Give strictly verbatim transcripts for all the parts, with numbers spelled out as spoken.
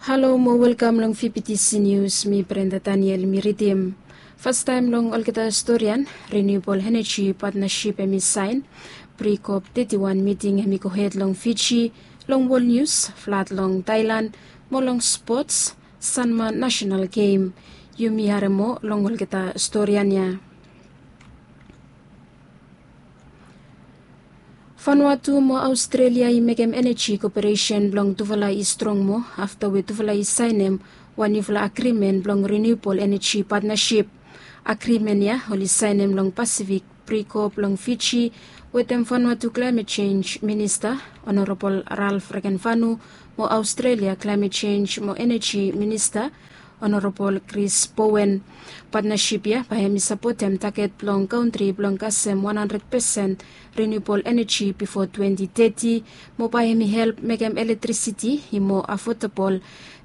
Halo mo welkam long V P T C News, mi Brenda Daniel mi ridim. Fastaem long olgeta storian, Renewable Energy Partnership hemi saen pre-COP thirty-one miting hemi gohed long Fiji, long wol nius, flad long Thailand, mo long spots, Sanma National Game. Yumi harem moa long olgeta storian ya. Vanuatu mo Aostrelia i mekem eneji koperesen blong tufala i strong moa afta we tufala i saenem wan niufala agrimen blong Renewable Energy Partnership. Agrimen ya oli saenem long Pasifik pre-COP long Fiji wetem Vanuatu Climate Change Minista Honorabol Ralph Regenvanu mo Aostrelia Climate Change mo Eneji Minista Honorabol Chris Bowen. Patnasip ya bae hemi sapotem taget blong kantri blong kasem wan handred pesen riniubol eneji bifo twenti teti, mo bae hemi help mekem elektrisiti i moa afodabol,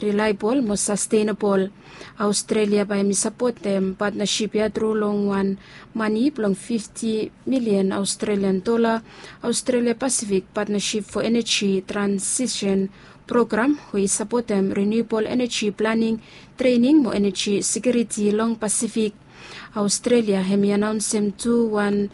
rilaebol mo sastenabol. Aostrelia bae hemi sapotem patnasip ya tru long wan mane blong fifti milian Aostrelian dola. Aostrelia Pasifik Patnasip fo Eneji Transisen Program we i sapotem riniubol eneji planing, trening mo eneji sekiuriti long Pasifik. Aostrelia hemi anaonsem tu wan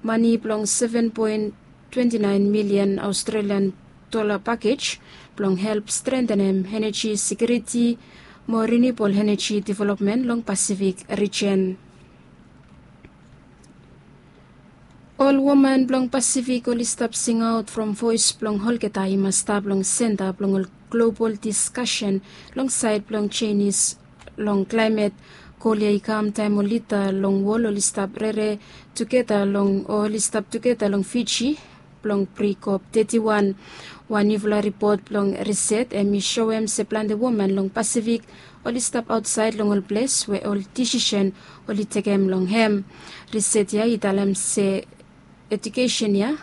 mane blong seven poen twenti naen milian Aostrelian dola pakej blong help strentenem eneji sekiuriti mo riniubol eneji developmen long Pasifik rijen. Ol woman blong Pasifik oli stap singaot from voes blong olgeta i mas stap long senta blong ol global diskasen long saed blong jenis long klaemet. Gol ya i kam taem ol lida long wol oli stap rere tugeta long o oli stap tugeta long Fiji blong pre-COP teti wan. Wan niufala ripot blong riset hemi soem se plante woman long Pasifik oli stap aotsaed long ol ples we ol disisen oli tekem long hem. Riset ya i talem se ejukesen ya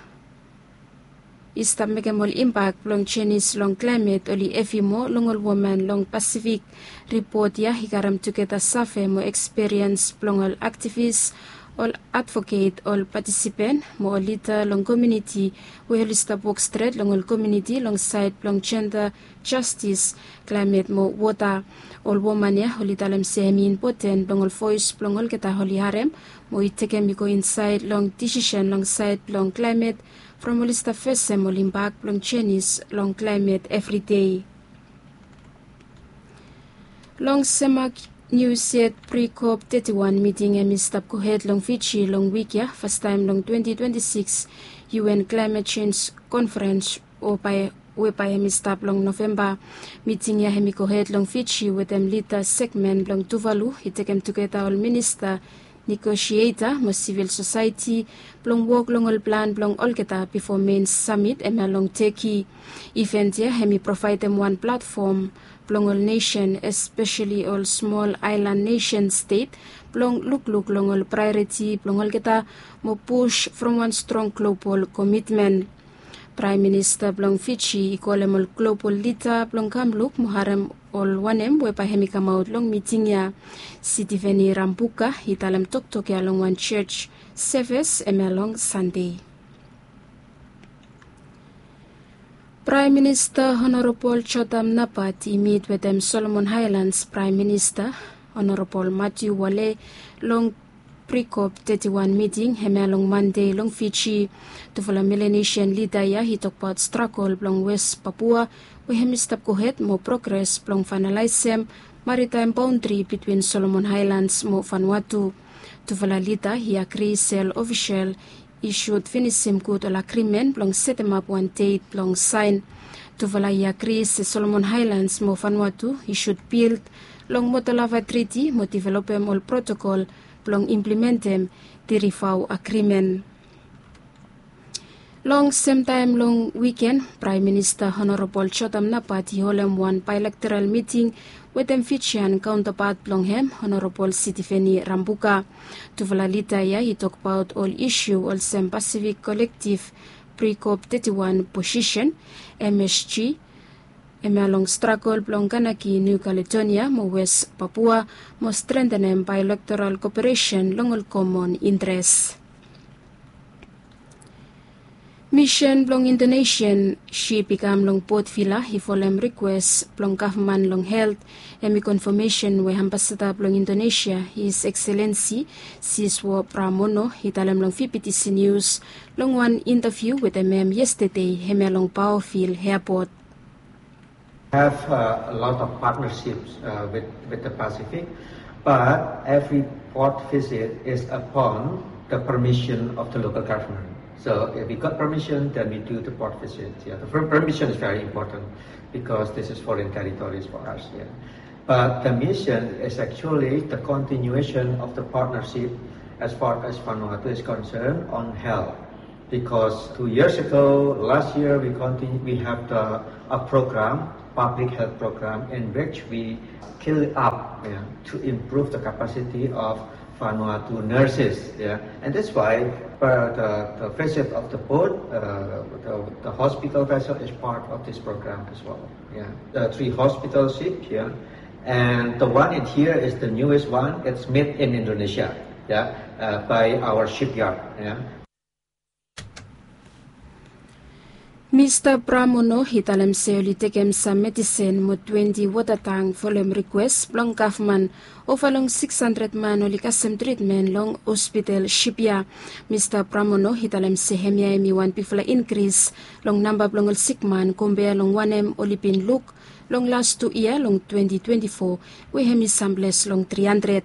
i stap mekem ol impak blong jenis long klaemet oli hevi moa long ol woman long Pasifik. Ripot ya i karem tugeta save mo ekspiriens blong ol aktivis, ol advoket, ol patisipen mo ol lida long komuniti we oli stap wok stret long ol komuniti long saed blong jenda, jastis, klaemet mo wota. Ol woman ya oli talem se hemi impoten blong ol voes blong olgeta oli harem mo i tekem i go insaed long disisen long saed blong klaemet from oli stap fesem ol impak blong jenis long klaemet evridei. Long semak nius yet, pre-COP teti wan miting hemi stap gohed long Fiji long wik ya, fastaem long twenti twenti sikis UN Climate Change Conference o bae we bae hemi stap long Novemba. Miting ya hemi gohed long Fiji wetem lida segmen blong Tuvalu i tekem tugeta ol minista, negosieta mo sivil sosaeti blong wok long ol plan blong olgeta bifo mein samit hemia long Teki. Iven ya hemi provaedem wan platfom blong ol nesen, espeseli ol smol aelan nesen stet, blong lukluk long ol praeoriti blong olgeta mo pus from wan strong global komitmen. Praem Minista blong Fiji i kolem ol global lida blong kam luk mo harem ol wanem we bae hemi kamaot long miting ya. Sitiveni Rambuka i talem toktok ya long wan jos seves hemia long Sande. Praem Minista Honorabol Jotam Napat i mit wetem Solomon Aelans Praem Minista Honorabol Matiu Wale long pre-COP teti wan miting hemia long Mande long Fiji. Tufala Melanesian lida ya i tokbaot stragol blong Wes Papua we hemi stap gohed mo progres blong faenalaesem maritaem baondri bitwin Solomon Aelans mo Vanuatu. Tufala lida i agri se ol ofisel i sud finisim gud ol agrimen blong setemap wan det blong saen. Tufala i agri se Solomon Aelans mo Vanuatu i sud bild long Motolava Triti mo developem ol protokol blong implimentem Tirivau Agrimen. Long semtaem long wiken, Praem Minista Honorabol Jotam Napat i holem wan baelektoral miting wetem Fijian kaontapat blong hem, Honorabol Sitiveni Rambuka. Tufala lida ya i tokbaot ol isu olsem Pasifik Kolektiv pre-COP teti wan posisen, M S G, hemia long stragol blong Kanaki Niu Kaledonia mo Wes Papua mo strentenem baelektoral koperesen long ol komon intres. Misen blong Indonesia ship i kam long Port Vila i folem rikwes blong gavman long helt. Hem i konfamesen we ambasada blong Indonesia, His Excellency Siswo Pramono, i talem long V B T C News long wan intaviu wetem hem yestede hemia long Paofil Airport. Have uh, a lot of partnerships uh, with, with the Pacific, but every port visit is upon the permission of the local government. So if we got permission, then we do the port visit. Yeah, the per- permission is very important because this is foreign territories for us. Yeah. But the mission is actually the continuation of the partnership as far as Vanuatu is concerned on health. Because two years ago, last year, we continue, we have the, a program, public health program, in which we scale up, yeah, to improve the capacity of Vanuatu nurses. Yeah. And that's why uh, the, the visit of the boat, uh, the, the hospital vessel is part of this program as well. Yeah. The three hospital ships, yeah. And the one in here is the newest one. It's made in Indonesia, yeah, uh, by our shipyard. Yeah. Mista Pramono i talem se oli tekem sam medisen mo twenti wota tang folem rikwes blong gavman. Ova long sikis handred man oli kasem tritmen long hospital ship ya. Mista Pramono i talem se hemia hem i wan bigfala inkris long namba blong ol sikman kompea long wanem oli bin luk long las tu yia long twenti twenti fo, we hem i samples long tri handred.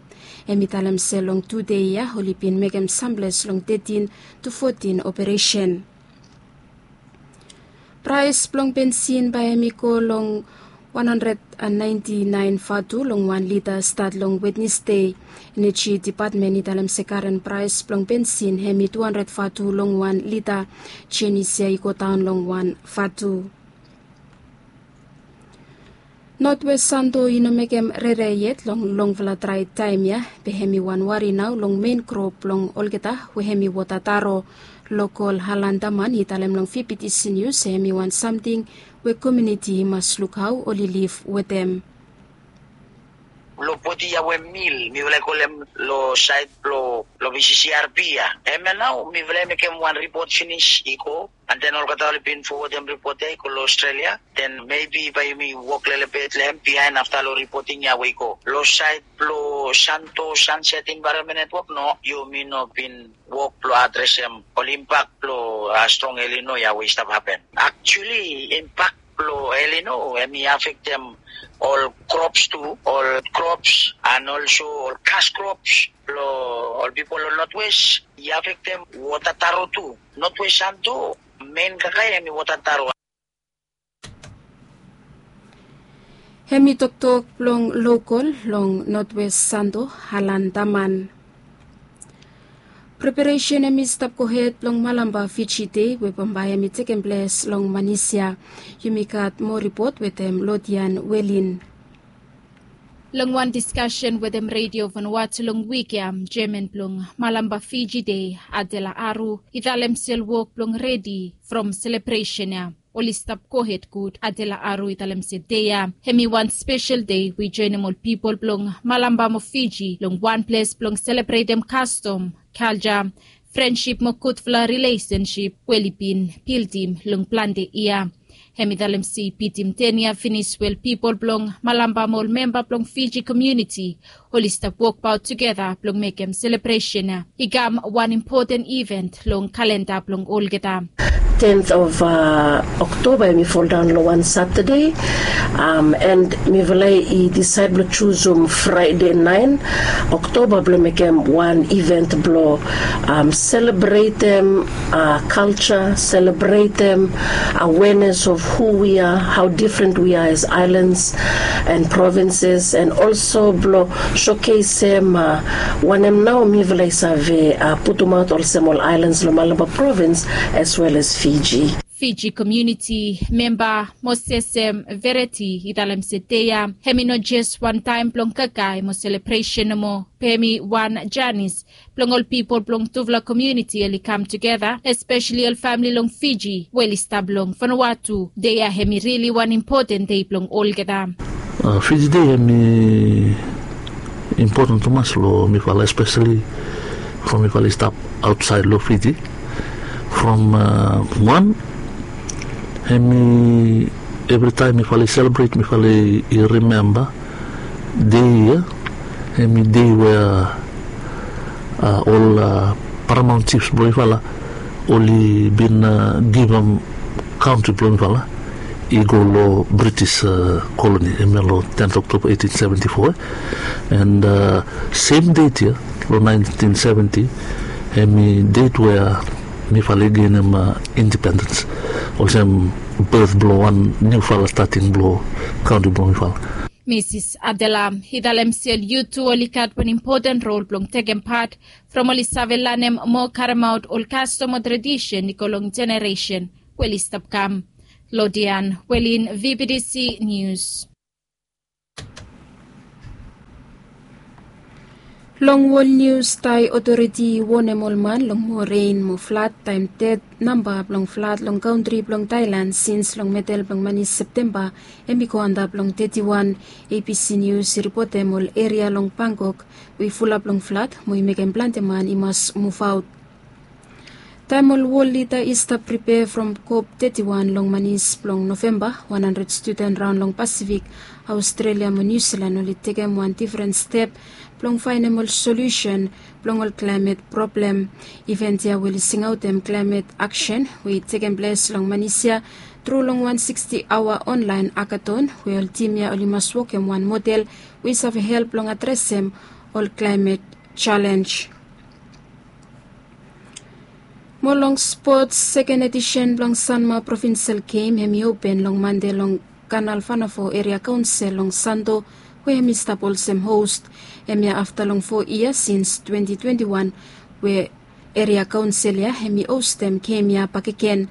Hem i talem se long tu dei ya oli bin mekem samples long tetin tu fotin operesen. Praes blong bensin bae hem i go long wan handred naenti naen vatu long wan lita stat long Wednesde. Eneji Depatmen i talem se karen praes blong bensin hem i tu handred vatu long wan lita. Jenis ya i godaon long wan vatu. Notwes Santo i no mekem rere yet long longfala drae taem ya, be hem i wan wari nao long men krop blong olgeta we hem i wota taro. Lokol Halan Daman i talem long V B T C News se hem i wan samting we komuniti i mas luk hao oli liv wetem. Lo poti ya we mil mifala i kolem lo saed blo lo V C C R P ya. Hemia nao mifala i mekem wan ripot finis i go. And then olgeta oli bin fowodem ripot ya i go lo Australia. Then maybe bae yumi wok lelebet long hem bihaen afta lo ripoting ya we i go. Lo saed blo Santo Sunset Environment Network no, yumi no bin wok blo adresem ol impak blo strong El Nino ya we i stap hapen. Actually impak blo El Nino hem i afektem ol krops tu, ol krops and also ol kas krops blo ol pipol long Notwes. I afektem wota taro tu. Notwes Santo men kakae hem i wota taro. Hem i toktok blong lokol long Notwes Santo, Halan Daman. Preparesen hem i stap gohed blong Malampa Fiji Dei we bambae hem i tekem ples long Manisia. Yumi gat moa ripot wetem Lodian Welin. Long wan diskasen wetem Redio Vanuatu long wik ya, jeaman blong Malampa Fiji Dei, Adela Aru, i talem se ol wok blong redi from selebresen ya oli stap gohed gud. Adela Aru i talem se dei ya hem i wan spesel dei we i joenem ol pipol blong Malampa mo Fiji long wan ples blong selebretem kastom, kalja, frensip mo gudfala rilesensip we oli bin bildim long plante yia. Hem i talem se i bitim ten yia finis we ol pipol blong Malampa mo ol memba blong Fiji komuniti oli stap wokbaot tugeta blong mekem selebresen ya i kam wan impoten iven long kalenda blong olgeta. Tenth of Oktoba hem i foldaon long wan Satade, and mifala i disaed blong jusum Fraede naen Oktoba blong mekem wan iven blong selebretem kalja, selebretem awenes of hu wi a, hao difren wi a as aelans and provenses, and olso blong sokesem wanem nao mifala i save putumaot olsem ol aelans long Malampa provens as wel as Fiji. Fiji komuniti memba Mosesem Vereti i talem se dei ya hem i no jes wan taem blong kakae mo selebresen nomo, be hem i wan janis blong ol pipol blong tufala komuniti oli kam tugeta, espeseli ol famili long Fiji we oli stap long Vanuatu. Dei ya hem i rili wan impoten dei blong olgeta. Fiji Dei hem i impoten tumas long mifala, espeseli from mifala i stap aotsaed long Fiji. from wan, hemi evritaem mifala i selebret, mifala i rimemba dei ia, hemi dei we ol paramount chiefs blong mifala oli bin givim kantri blong mifala i go long British koloni, hemia long tenth October eighteen seventy-four. And sem deit ia long nineteen seventy, hemi deit we mifala i genim independens, olsem birth blong wan niufala stating blong kantri blong mifala. Misis Adela i talem se ol yut tu oli gat wan impoten rol blong tekem pat from oli save lanem mo karemaot ol kastom o tradisen i go long jeneresen we oli stap kam. Lodian Welin, VBTC Nius. Long wol nius, Thai otoriti i wonem ol man long moa ren mo flad taem ded namba blong flad long kantri blong Thailand sins long medel blong mani Septemba hemi go antap long teti wan. ABC Nius i ripotem ol eria long Bangkok we i fulap long flad mo i mekem plante man i mas muvaot. Taem ol wol lida i stap pripea from COP teti wan long manis blong Novemba, wan handred studen raon long Pasifik, Aostrelia mo Niu Silan oli tekem wan difren step blong faenem ol solusen blong ol klaemet problem. Iven ya we oli singaotem klaemet aksen we i tekem ples long manis ya tru long wan siksti aoa onlaen akaton we ol tim ya oli mas wokem wan model we i save help long adresem ol klaemet jalenj. Mo long spots, seken edisen blong Sanma Provinsel Gem hemi open long Mande long Kanal Vanafo Eria Kaonsel long Santo, we hemi stap olsem hos. Hemia afta long fo yia sins twenti twenti wan we Eria Kaonsel ya hemi hostem gem ya bakegen.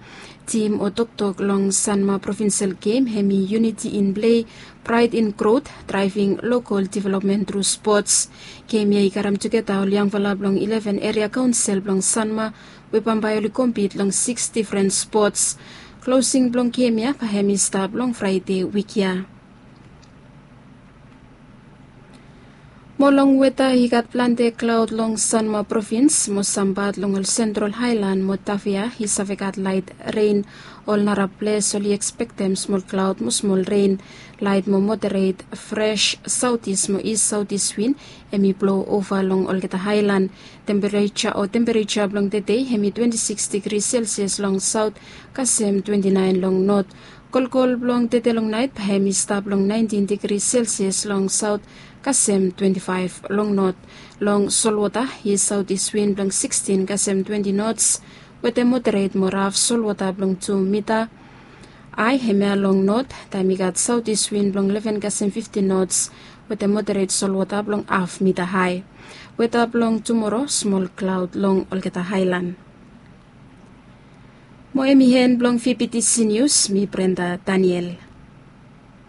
Tim o toktok long Sanma Provinsel Gem hemi Uniti in Plei, Praed in Grot, Draeving Lokol Developmen tru Spots. Gem ya i karem tugeta ol yangfala blong ileven Eria Kaonsel blong Sanma we bambae oli kompit long sikis difren spots. Klosing blong gem ya bae hemi stap long Fraede wik ya. Mo long weta, i gat plante klaod long Sanma Provins mo sam pat long ol Sentral Haelan mo Tafea i save gat laet ren. Ol narap ples oli ekspektem smol klaod mo smol ren. Laet mo moderet fres saotis mo is saotis win hemi blou ova long olgeta haelan. Tempereja o tempereja blong tede hemi twenti sikis digri Selsias long saot kasem twenti naen long not. Kolkol blong tede long naet bae hemi stap long naentin digri Selsias long saot kasem twenti faef long not. Long solwota, is saotis win blong sikstin kasem twenti nots wetem moderet mo raf solwota blong tu mita ae hemia long not, taem i gat saotis win blong leven kasem fiftin nots wetem moderet solwota blong haf mita ae. Weta blong tumoro, smol klaod long olgeta haelan. Mo hemi en blong VBTC Nius, mi Brenda Daniel.